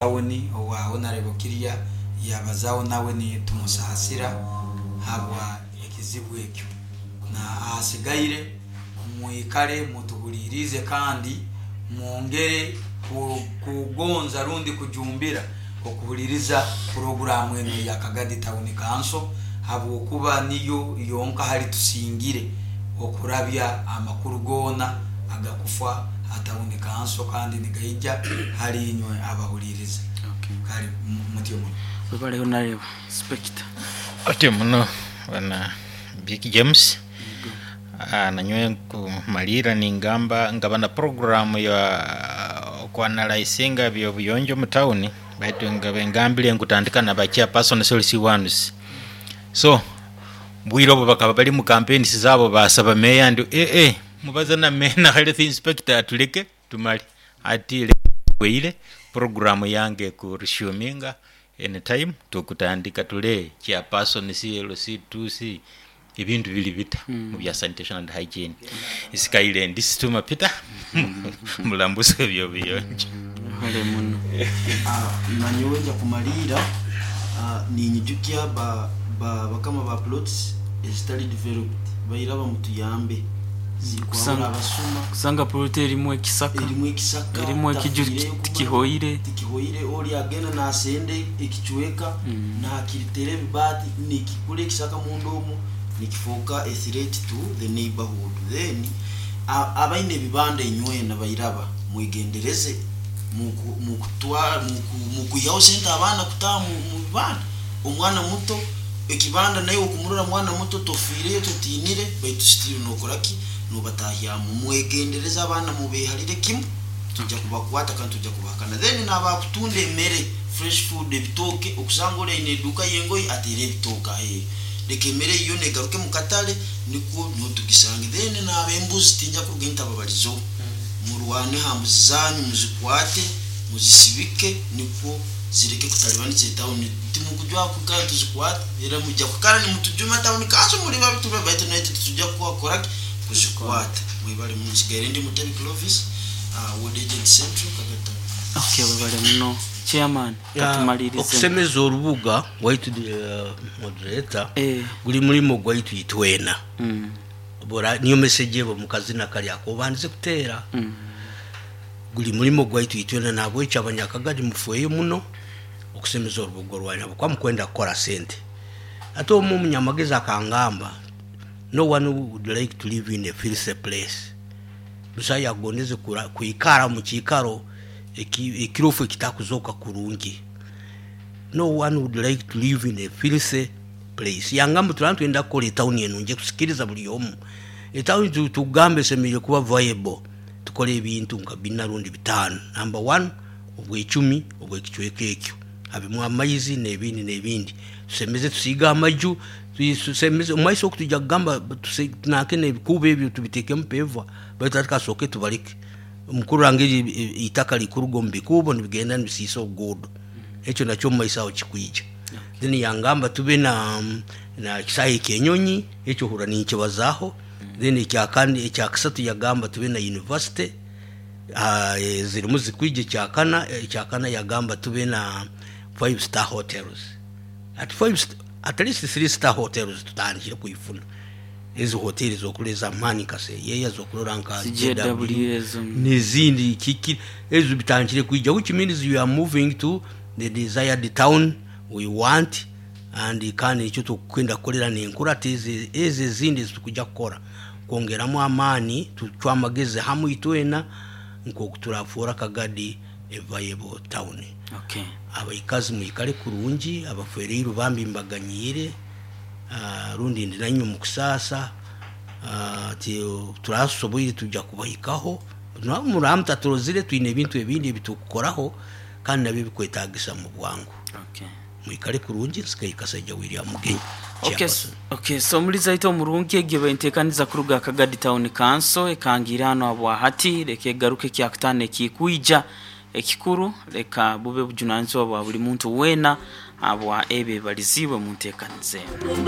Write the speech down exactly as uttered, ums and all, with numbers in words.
Tawuni owa Honorable Kirya yabazaho, nawe nitumusaasira habwa ekizibu ekyo. Na ahasigaire mwikale mutuhulirize kandi mwongere kugonza rundi kujumbira okuhuliriza puroguramu eno eya Kagadi Town Council, habwokuba niyo yonka hali tusingire okurabya amakuru goona agakufa ha Town Council, kandi nigaija hali inywe abahuliriza. Kale mutyo muno. Webale, Honorable Inspector. Otyo muno, bwana Big James. Ah, nanyowe nkumalira ningamba ngaba na programu ya okuanalysinga byobuyonjo mu town, baitu ngabe ngambire nkutandika na ba chairperson C L C ones. So bwire obwo bakaba bali mu campaigns zabo, basaba meya ndi eh eh mubaze na meya na health inspector atuleke tumale ati weire programu yange ku resuminga anytime. Tukutandika tule chairperson C L C two C ebintu bili bita mu bya sanitation and hygiene. Isikaire ndi Situma Peter, mulambuzi w'ebyobuyonjo. Webale muno. Ah, nanyowe nja kumaliira ah, ninyijukya ba, ba, bakama ba plots ezitali developed, bairaba mutuyambe zikwahura Kusanga- abasuma. Kusanga plot erimu ekisaka, erimu ekisaka, erimu ekiju tafiireyo kumanya, tikihoire. Tikihoire. Oli agenda nasenda ekicweka, Mm. nakiritera ebibaati, nikikura ekisaka munda omwo, nikifuuka a threat to the neighborhood. Then a- abaine ebibanda enywena bairaba mwegendereze muku- mukutwara muku- mukwihaho sente abaana kutaha mu mu bibanda. Omwana muto ekibanda naye okumurora mwana muto, tofiireyo, totiinire, baitu still nokoraki? Nobatahyamu. Mwegendereze abaana, mubeharire kimu, tujja kubakwata kandi tujja kubahakana. Then nabakutunda emere, fresh food, ebitooke, okusanga oli aine eduuka y'engoye, ateire ebitooke aheeru. Leka emere yo negaruke mu katale, nikwo niho tugisange. Then nabembuzi, tinja kuruga ntababalizeho. Murwane ha mbuzi zanyu, muzikwate, muzisibike, nikwo zireke kutalibaniza etawuni. Timukujwa kukara tuzikwate, era mujja kukara nimutujuma, "Town council muli babi tuba," baitu naitwe titujja kukoraki? Kuzikwata. Mwebale. Munsigaire ndi Mutebi Clovis, uh, ward agent central Kagata. Okay, webale muno, chairman. Ya, katumalirize. Okusemeza orubuga waitu, uh, moderator, Eh. guli mulimo gwaitu itwena. Mm. Bora niyo message ebo mukazina kali akobandize kuteera. Mm. Guli mulimo gwaitu itwena, nabwekyo abanyakagadi mufweyo muno okusemeza orubuga rwanyu habwokuba mukwenda kukora sente. Ate omu omunyamagezi akangamba, "No one would like to live in a filthy place." Busa yagondeze kura- kwikara mu kiikaro eki- ekirofu ekitakuzoka kurungi. "No one would like to live in a filthy place." Yangamba tulaba twenda kukola etawuni eno nje kusikiriza buli omu. Etawuni tu- tugambe esemereire kuba viable, tukole ebintu nka bina rundi bitaano. Number one, obwecumi obwekicweka ekyo, habemu amaizi n'ebindi n'ebindi. Tusemeze, tusiige amaju, tusemeze omumaiso oku tujja kugamba tuse- tunake n'ebikuubo ebyo tubitekemu paver, baitu ati kasooke tubaleke omukurora ngeri itaka likuruga omu bikuubo nibigenda nibisiisa obuguudo. Ekyo nakyo omumaiso aho kikwija. Then yangamba tube na na kisaahe ekyenyonyi, ekyo hura ninkibazaaho. Then ekyakandi, ekyakasatu, yagamba tube na university. Ah, eh, zirimu zikwija. Ekyakana ekyakana yagamba tube na five star hotels, at five st- at least three star hotels. Tutandikire kuifuna ezi hoteli zokuleza amaani nka Seyeya, zokulora nka J W ezo. N'ezindi kiki ezo bitandikire kwija, which means you are moving to the desired town we want. And kandi ekyo tukwenda kukolera nenkurata ezi ezi ezindi ezitukujja kukora, kwongeramu amaani, tucwa amagezi hamwe itwena nkoku turafuura Kagadi a viable town. Okay abaikazi mwikale kurungi, abafereirwe bambi mbaganyiire, ah, rundi ndi nanywe mukusasa. ah, ti turasoboire tujja kubahikaho. Muramu taturozire, twine ebintu ebindi ebitukukoraho kandi nabyo bikwetagisa mu bwangu. Okay mwikale kurungi. Nsigaye Kasaija William Mugenyi, Okay, chairperson. Okay, so muliza ito omurungi, egyo bentekaniza kuruga Kagadi Town Council ekangira hano habwahati. Leka egaruke kyakutano ekikwija. Ekikuru, leka bube bujunanizibwa bwa buli muntu weena habwa ebyo ebaliziibwe mu nteekaniza eno.